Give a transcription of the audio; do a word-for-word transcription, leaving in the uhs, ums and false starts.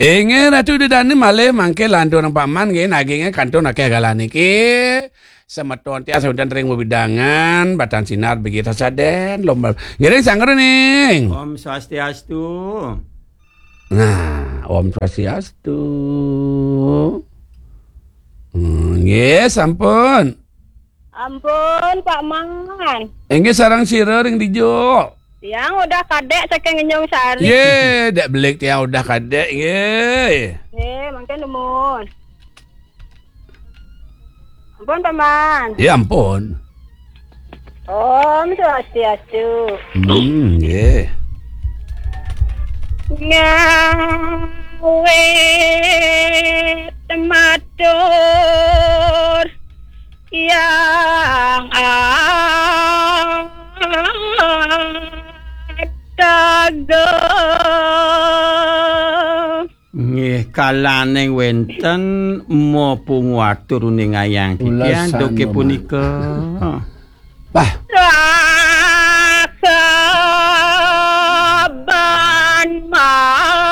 Inggih Ratu Ida Dané malih mangké lanturang paman nggih nagingé kantun akéh galah niki. Semeton tiang semeton ring wewidangan, Batan Sinar begitu sadén, lomba. Ngiring sangrening. Om Swastiastu. Nah, Om Swastiastu. Hmm, nggih, sampun. Ampun, Pak Man. Inggih sareng sira ring dija. Tiang Udah Kadék saking Ngenjung Sari. Yé, Dék Belik tiang Udah Kadék, nggih. Nggih, mangkin nuwun. Ampun, Pak Man. Ya ampun. Om Swastiastu. Hmm, nggih. Ngawit matur yang agung. Nggih, kalaning wénten mapungu atur uning ayang titiang duké punika. Wah.